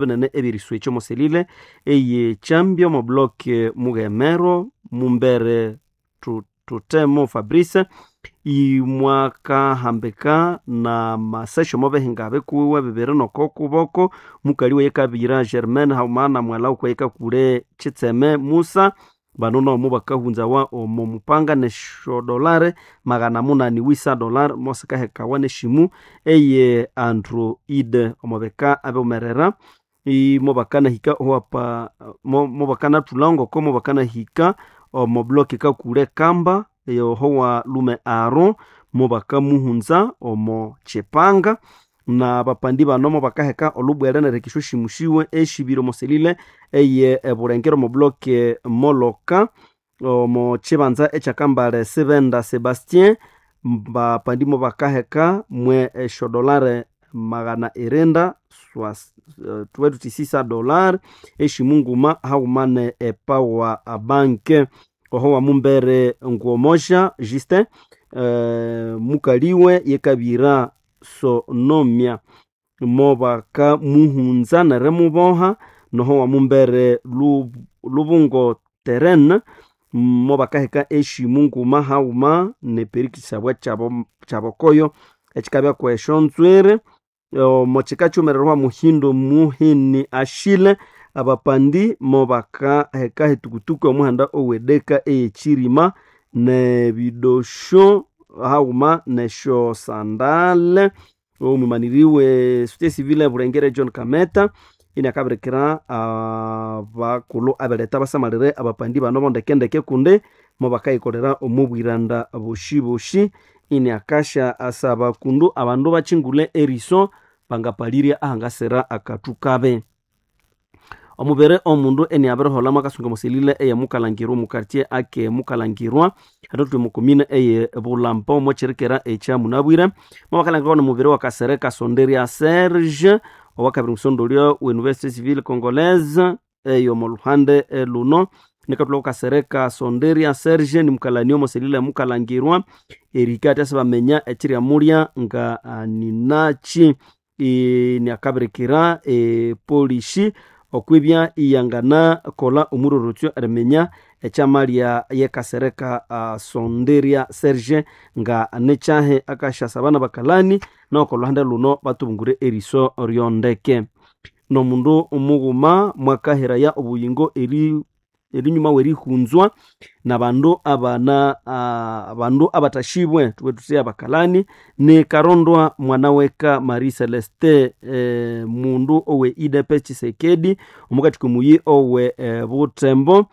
Binene ebyeriswekya omo selile eye Kyambya omo block Mughemero Mumbere Thutemo Fabrice imwakahambika na masesyo omo bihinga bikuwiwe bibiri nokokuboko mukali weyikabira Germaine haghuma na mughalha wukayikakule Kitseme Musa. Bano nomo bakahunzawa omo mupanga nesyo dollar 800 wisa dollar mosikahekawa nesyimu eye Android omo bika abiwumerera imobakanahika owapa mobakanathulha ngoko mobakanahika omo block kakule Kamba eyoho lume Aro mobakamuhunza omo Kyipanga. Na bapandi bano mobakaheka olhubwere neriheka esyosimu siwe esibiri omo selile eye Ebulengera omo block Moloka omo kyibanza ekyakambale Sibenda Sebastien. Bapandi mobakaheka mwe esyo dollar 900 thubwe thuthi $6 esyimu nguma haghuma ne epower bank. Oho wa Mumbere Ngomosha Justin mukaliwe yekabira Sonomia mobakamuhunza nerimuboha. Noho wa Mumbere Lubungo Terene mobakaheka esyimu nguma haghuma neperikisabwa kyabokoyo ekyikabya kwesyo nzwiri. Omo kika kyumererwa Muhindo Muhini Ashile abapandi mobakaheka etukutuku omuhanda owedeka eyekyirima nebidosyo haghuma nesyo sandale. Omwimaniriwe société civile Bulengere John Kameta iniakabirikira abakulhu abeletha basamalire abapandi bano bondekendeke kundi mobakayikolera omo bwiranda bosi bosi. Iniakasya asaba kundu abandu bakyingule eriso bangapalirya ahangasira akathu kabi. Omubiri omundu iniabiriholha mwakasunga omo selile eye Mukalangirwa omu quartier ake Mukalangirwa hathathuli omo commune eye Bulamba omo kyirikira ekya munabwire. Mobakalhangira nomubiri wakasereka Sonderia Serge owakabiri musondolyo we Université Civile Congolaise eyo omo luhande luno. Nikathulha kasereka Sonderia Serge nimukalani omo selile ya Mukalangirwa erihika athi asibaminya ekiryamulya nga ninakyi. Iniakabirikira epolisi okwibya iyanganakolha omurorotsyo eriminya ekyamalya yekasereka Sonderia Serge nga nikyahi. Akasyasaba nabakalani noko olhuhande luno bathubungure eriso ryondeke. Nomundu mughuma mwakahiraya obuyingo erinyuma werihunzwa nabandu abana abandu abathashibwe thubwe thuthi abakalani ni Karondwa mwanaweka Marie Celeste mundu owe UDPS Tshisekedi omukathathi komuyi owe Butembo.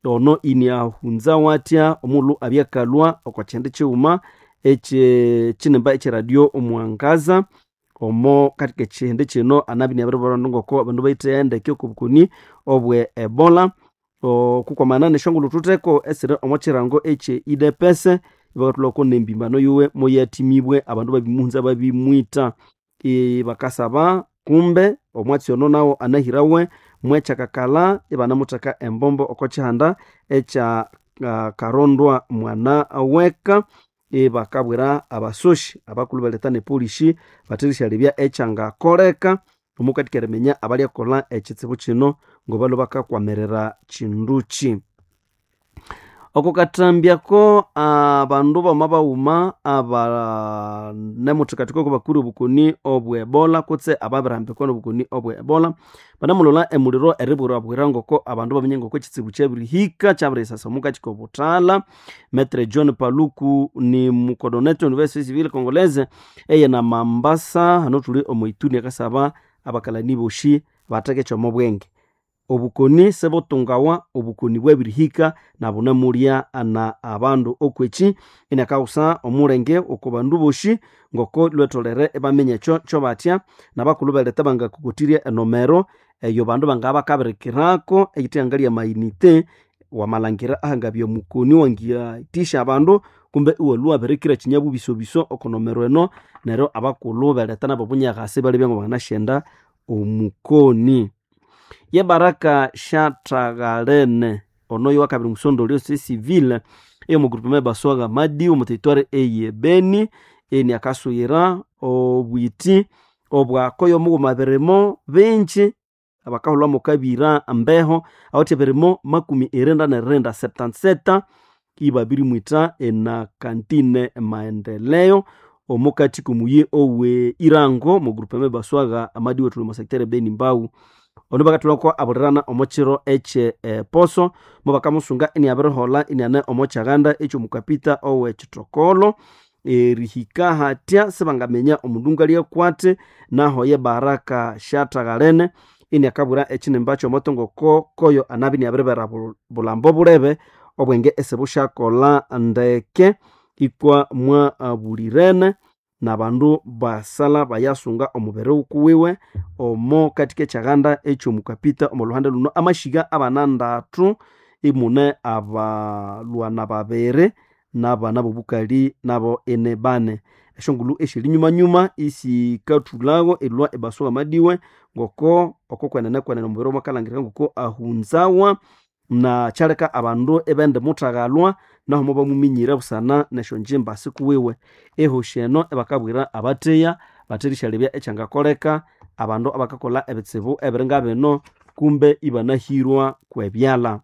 Ono iniahunza wathya omulhu abyakalhwa oko kyindi kyighuma ekye kyinimba ekyeradio Omwangaza. Omo kathika ekyihindi kyino anabya iniabiribwira abandu ngoko abandu bayitheya ndeke oko bukoni obwe Ebola. Okukwamana nesyongulhu thutheko esiri omo kyirango ekye UDPS ibakathulhako nembimbano yiwe moyathimibwe abandu babimuhunza babimwitha. Bakasaba kumbe omwatsi ono nawo anahirawe mwekyakakalha ibanamutheka embombo oko kyihanda ekya Karondwa mwanaweka. Ibakabwira abasoshi abakulhu beletha nepolisi batherisyalebya ekyangakoleka omukathika eriminya abalyakolha ekyitsibu kyino ngobalhwe bakakwamirira kyindukyi. Oko kathambyako abandu bama baghuma abanemuthikathika oko bakure obukoni obwe Ebola kutse ababirihambikwa nobukoni obwe Ebola banamulholha emuliro eribwirabwira ngoko abandu baminya ngoko ekitsibu kyabirihika kyabiriyisasa omukathi kobuthalha. Maitre John Paluku ni mukodonete Université Civile Congolaise eye na Mambasa hano thuli omo Ituri akasaba abakalani bosi batheke kyomo bwenge. Obukoni sibutungawa obukoni bwabirihika nabunamulya na abandu okwekyi iniakaghusa omulenge oko bandu bosi ngoko lhwetholere ibaminya ekyo kyobathya nabakulhu beletha bangakokothirya enomero eyo bandu bangabya bakabirikirako eyithe lya mayinite wamalhangira ahangabya omukoni wangithisya abandu kumbe iwalhwa wabirikira kyinyabubisobiso oko nomero eno neryo abakulhu beletha nabo obunyakasi ibalebya ngabanganasyenda omukoni. Ye Baraka Shataghalene ono yowakabiri musondolyo société civile eyomo groupement Baswaga Madi omo territoire eye Beni iniakasuyira obwiti obwakoyo omughuma birimo bingi. abakahulwa mukabira mbeho awithe birimo 97 77 ibabirimwita ena kantine Maendeleo omukati komuyi owe Irango mu groupement Baswaga amadiwe tuli mu secteur Beni Mbau. Ono bakatulako abulirana omukiro ekye poso mubakamusunga iniabirihola iniane omokyaganda ekyo mukapita owe kitokolo erihika hatya sibangaminya omundu ngalyakwate naho ye Baraka Shataghalene iniakabwira ekinimba kyomoto ngoko koyo anabi iniabiribera bulambo bulebe obwenge esibusyakolha ndeke ikwa mwabulirene nabandu basala bayasunga omubiri wukuwiwe omo katika ekyaganda ekyomukapita omo luhande luno amashiga abana ndatu imune abalwana babiri nabana bobukali nabo ene bane. Esyongulhu esyeri nyumanyuma isikathulhago erilhwa ebasuba amadiwe ngoko oko kwenene kwenene omubiri mwakalhangirika ngoko ahunzawa na kyaleka abandu ibende muthaghalwa naho mobamuminyire busana nesyonjimba sikuwiwe. Ehosi eno ebakabwira abatheya batherisyarebya ekyangakoleka abandu abakakolha ebitsibu ebiringa bino kumbe ibanahirwa kwebyalha.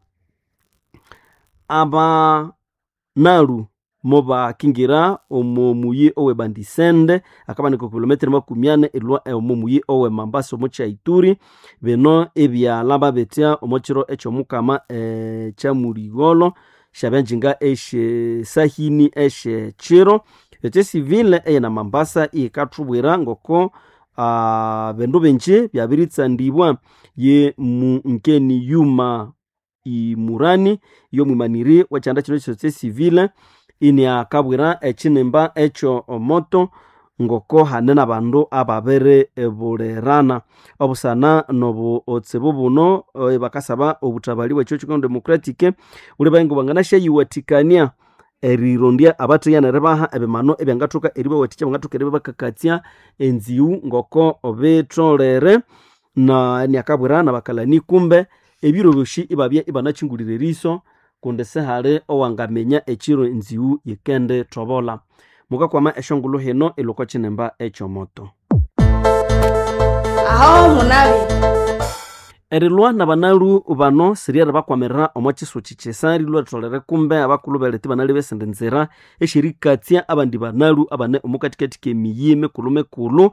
Abanalu mobakingira omo muyi owe Bandisende akabanika kilometre 40 erilhwa omo muyi owe Mambasa omo Kyaituri. Bino ebyalha bitya omo kiro ekyomukama ekyamuligholo syabyanjinga esyesahini esyekiro. Ekyo civile eyina Mambasa iyikathubwira ngoko bindu bingi byabiritsandibwa ye Munkeni Yuma Imurani yomwimaniri wekyanda kino ekyo civile iniakabwira ekinimba ekyo omoto ngoko hane nabandu ababiribulirana obusana nobutsibu buno. Bakasaba obuthabali bwekyo kikono democratic buli bahingo banganasyayiwathikania erirondya abatheya neribaha ebimano ebyangathoka eribawathikya bangathoka eribakakatsya enziwu ngoko bitholere. Na niakabwira nabakalani kumbe ebiro byosi ibabya ibanakyingulira eriso kundi sihali owangaminya ekiro enziwu yikendithobola. Mukakwama esyongulhu hino ilhwa okwa kinimba ekyomoto. Aho munabi Erilhwa nabanalu bano siryeribakwamirira omo kyisuki kyisa rilhwa ritholere kumbe abakulhu belete ibanalebe esindi nzira esyerikatsya abandi banalu abane omo kathikathi kemiyi mikulhu mikulhu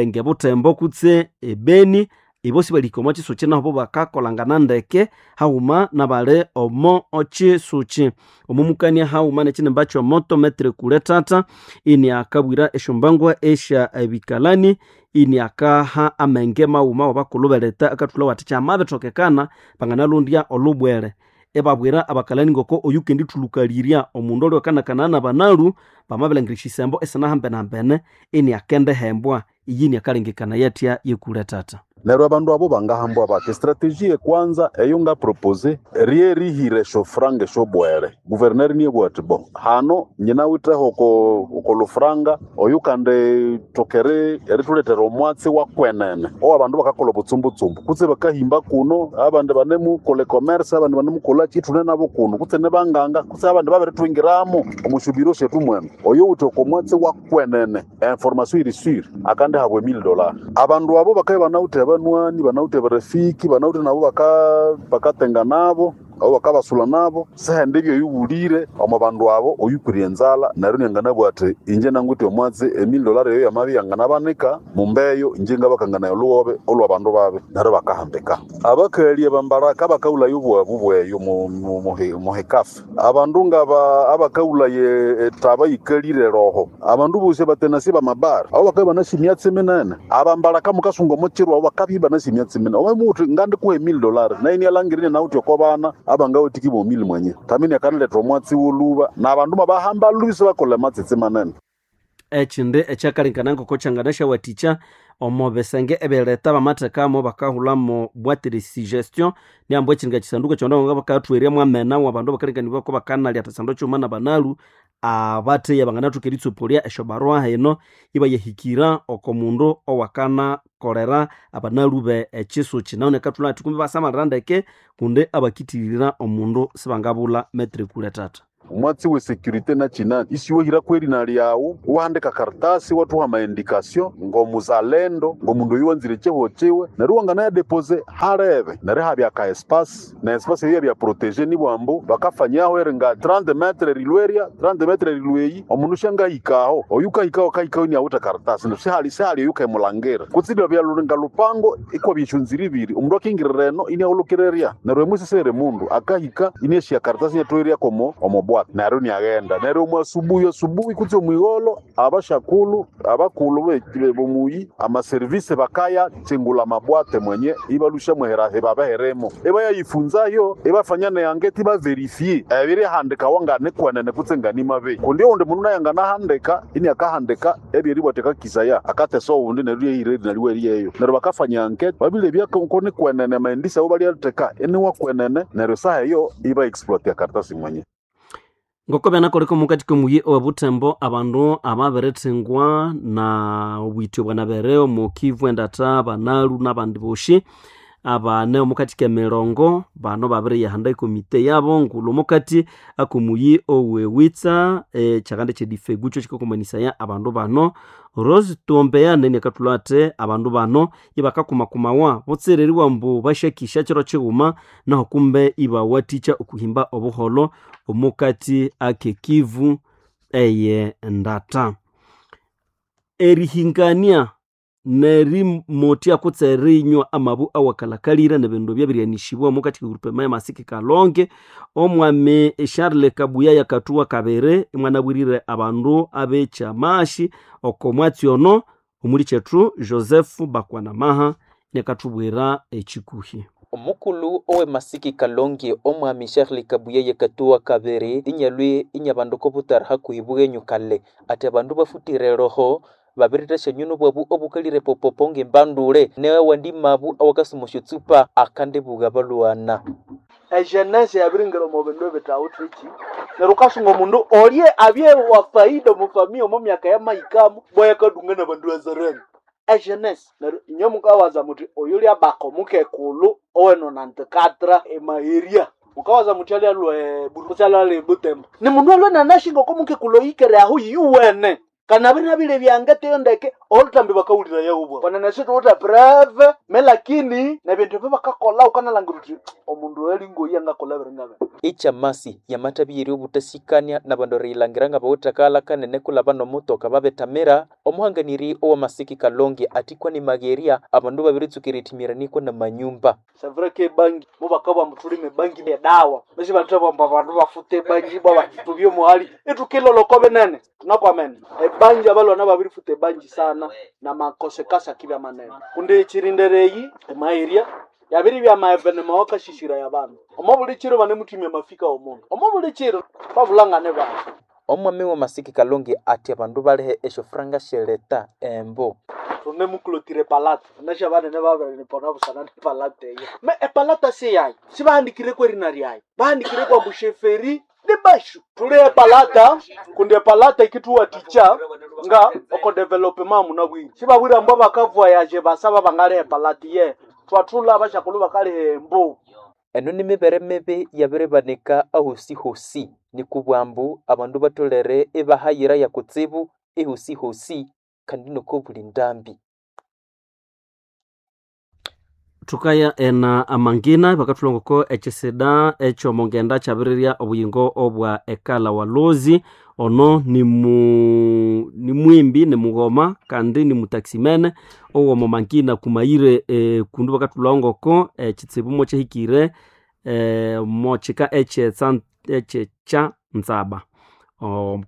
ngebuthembo kutse ebeni. Ibo sibalihika omo kyisuki naho bakakolangana ndeke haghuma nabali omo kyisuki. Omo mukania haghuma nekinimba kyomoto metre kule tata iniakabwira esyombangwa esya ebikalani iniakaha amenge maghuma wabakulhu beleta akathulha wathi kyamabithokekana banganalondya olhubwere. Ibabwira abakalani ngoko oyukendithulukalirya omundu olhwakanakana nabanalu bamabilhangira esyisembo esinahambenehambene iniakendihembwa. Iyi niakalengekana yathya yekule tata. Neryo abandu abo bangahambwa bathi strategie ekwanza eyo ngapropose ryerihira esyofranga esyobwere. Guverneri niyabugha athi bo hano nyinawithe oko lufranga oyu kandi thokere erithuletera omwatsi wa kwenene owa abandu bakakolha obutsumbutsumbu kutse bakahimba kuno abandi banemukolha ecommerce abandi banemukolhaki ithune nabo kuno kutse nibanganga kutse abandi babirithwingiramu omu syobiro syethu mwenu. Oyo wuthi oko mwatsi wa kwenene information iri sure akandihabwa $1000. Abandu abo bakabya banawithe banwani banawithe barafiki banawithe nabo bakatenga nabo abo bakabasula nabo sihandi ebyo oyuwulire omo bandu abo oyukwire enzalha neryo nianganabugha athi inje nangwithe omwatsi $1000 eyo yamabya yanganabanika mumbeyo inje ngabakanganaya olhughobe olhwa bandu babi neryo bakahambika. Abakali abambaraka abakaghulaya obwabu bweyo muhikafu abandu ngaba abakaghulaya etaba yikalire roho abandu bosi abatenasi bamabara abo bakabya banasi emyatsi minene abambaraka mukasunga omukiro abo bakabya ibanasi emyatsi minene omuthi ngandikuha $1000 naye nialangirine nawuthi oko bana abangawathikibwa omili mwenye tamini akaniletha omwatsi woluba nabandu mabahamba lubi sibakolha amatsitsi manene. Ekindi ekyakalengekana ngoko kyanganasyawathikya omo bisenge ebyereta bamathekamo bakahulhamo boîte de suggestion niambu ekyinga kisanduku ekyabandu bakathuheryamu amena wabandu abakalengekanibwa bakanalya athisandu kyuma nabanalu abatheya banganathoka eritsoporya esyobarua hino ibayahikira oko mundu owakanakolera abanalu be ekyisuki. Nahu nekathulha athi kumbe ibasamalira ndeke kundi abakithirira omundu sibangabulha metre kule tata. Omwatsi we security nachinani isiwehira kwerina lyawu wahandika karatasi wathuha amaindikasyo ng'omuzalendo ng'omundu oyu wanzire chiho chiwe neryo wanganaya depose halebe neryo habya ka espace na espace eyo yabya protege nibwambu bakafanyaho eringa 30 metre rilweria 30 metre rilweyi omundu syangahikaho oyu kahikaho kahikaho iniawithe karatasi neryo sihali sihali oyu kemulangira kutsi byaluringa lupango ikwabya esyonzira ibiri omundu akingirira eno iniahulukirerya neryo emwisisere mundu akahika iniasya karatasi inathoerya komo omobwata neryo niaghenda neryo omu asubuhi asubuhi kutsi omwigholho abashakulu abakulu bomuyi amaserivisi bakaya chingula mabwate mwenye ibalusha mwehera ibabeheremo ibayayifunzayo ibafanya neangeti baverifie ebirihandikawa nganikwenene kutse nganimabe kundi oundi mundu naye anganahandika ini akahandika ebyeribwateka kisaya akatesa oundi neryo lyehire naliweryeyo neryo bakafanya anketi babilebya konikwenene maendisa abo balyatheka iniwakwenene neryo saha eyo iba exploit karatasi mwenye. Ngoko byanakoleka omukati k'omuyi owe Butembo abandu ababirithingwa na obwitho bwanabere omu Kivu endata banalu n'abandi boshi abane omukati k'emirongo bano babiriyahanda ekomite yabo ngulhu omukati ak'omuyi owe Witsa ekyakandi ekyedifegu kyo kikakomanisaya abandu bano. Rose Tuombeya nene akathulha athi abandu bano ibakakumakumawa butsira eribugha ambu basyakisya kiro kighuma naho kumbe ibawathikya okuhimba obuholho omukati ak'ekivu eye ndata. Erihingania nerimotya kutse erinywa amabu awakalakalire nebindu ebyabiryanishibwa omukati k'egroup ya Masiki Kalonge. Omwami Charles Kabuya yakathuwa kabiri imwanabwirire abandu ab'ekyamashi oko mwatsi ono omuli kyethu Joseph Bakwanamaha nekathubwira ekikuhi. Omukulu owe Masiki Kalonge omwami Charles Kabuya yakatuwa kabiri inyalwe inyabandu kobutara hakuhi bwenyu kale ati abandu bafutire roho babirithasya nyuno bwabu obukalire popopo ng'embandule newandi mabu awakasuma syotsupa akandibuga balwana. Ejenese yabiringira omu bindu ebithawuthiki neryo wukasunga omundu olye abye wa faida omu famia omu myaka yamahikamu bwayakadunga nabandu azarani ejenese neryo inywe mukawaza muthi oyu lyabaka omukekulhu owenonantikatra emaheria mukawaza muthi alyalwa kutse alyalwa ebutembo ni mundu alwe nanashinga oko mukekulhu oyikere aho yuwene kana binabile byangeteyo ndeke olutambi bakawulira yaubwa kwanene situwuthe preve me lakini nebindu ebyo bakakola ukanalhangira uthi omundu elingoyi angakola biringa bino. Echamasi yamathabiyire obutasikania nabandu eriyilangira ngabawithe kanene kulaba nomutoka babethamira. Omuhanganiri owa Masiki Kalonge athi kwani magherya abandu babiritsuka erithimiraniko namanyumba. C'est vrai que ebangi mubakabugha ambu thulime ebangi edawa basi bathabugha ambu abandu bafute ebangi ibwa tubye omuhali ithukilolha oko binene thunakwamene ebangi abalwana babirifuta ebangi sana namakosekasi akibya manene kundi ekyirindiro eyi emaherya yabiribya amaevenema wakasisiraya abandu omo buli kiro banemuthimya amafika womundu omo buli kiro twabulangane bandu. Omwami wa Masiki Kalonge athi abandu balehe esyofuranga syeleta embo. Thunemukulotire epalata nasya banene babirinipona busana nepalata eyo me epalata siyayi sibahandikireko erina lyayi bahandikireko ambu sheferi ni bashu thuli epalata kundi epalata ikithuwathikya nga oko development munabwire sibabwire ambu abakavoyaje basaba bangaliha epalata ye thwathulha abashakulhu bakaliha embu. Eno nimibere mibi yabiribanika ahosihosi nikubwambu abandu batholere ibahayira yakutsibu ehosihosi kandi nokobuli ndambi. Thukaya ena amangina bakathulha ngoko ekyisida ekyomongenda kyabirirya obuyingo obwa ekala walozi ono nimwimbi nimughoma kandi nimutaximene owomo mangina kumayire kundu bakathulha ngoko ekitsibu mokyahikire mokyika ekyekya nzaba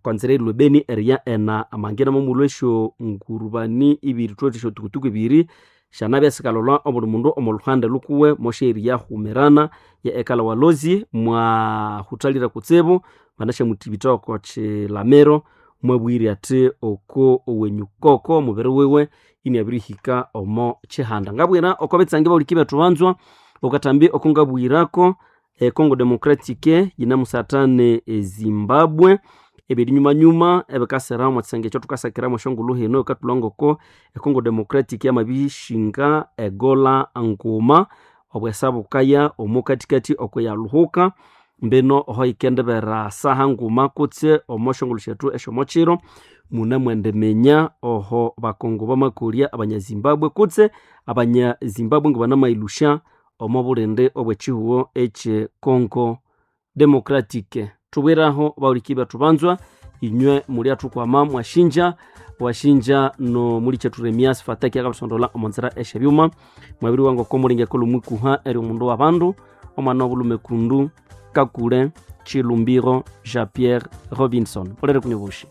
kwanzira erilwa ebeni eriya ena amangina momulhwa esyo ngurubani ibiri thwethu esyotukutuku ibiri syanabya sikalolwa obuli mundu omo luhande lukuwe mosyairiya humirana ya ekala walozi mwahuthalire kutsibu banasyamuthibitha oko kyilamiro mwabwire athi oko owenyukoko omubiri wiwe iniabirihika omo kyihanda. Ngabwira oko bitsangi bahuliki bethu banzwa okathambi oko ngabwirako Congo Democratic yinamusathane eZimbabwe ebirinyumanyuma ebikasira omo kisenge ekyo thukasakiramu esyongulhu hino ekathulha ngoko eCongo Democratic yamabishinga egola nguma obwesa bukaya omo kathikathi oko yalhuhuka. Mbino oho ikendibera saha nguma kutse omo shongolo syethu esyomochiro mune mwendiminya oho bakongo bamakolya abanyazimbabwe kutse abanyazimbabwe ngibanamayilhusya omo bulindi obw'ekihugo ekye Congo Democratic. Thubwiraho bahuliki bethu banzwa, inywe mulyathukwama mwashinja washinja no mulikyetu Remias Fataki akabisondola omo nzira esyebyuma. Mwabiri wangu oko mulingeko lomwikuha eri omundu w'abandu omwana w'obulhume kundu Kakule Chilumbiro Jean Pierre Robinson. Polere kunywa obushi.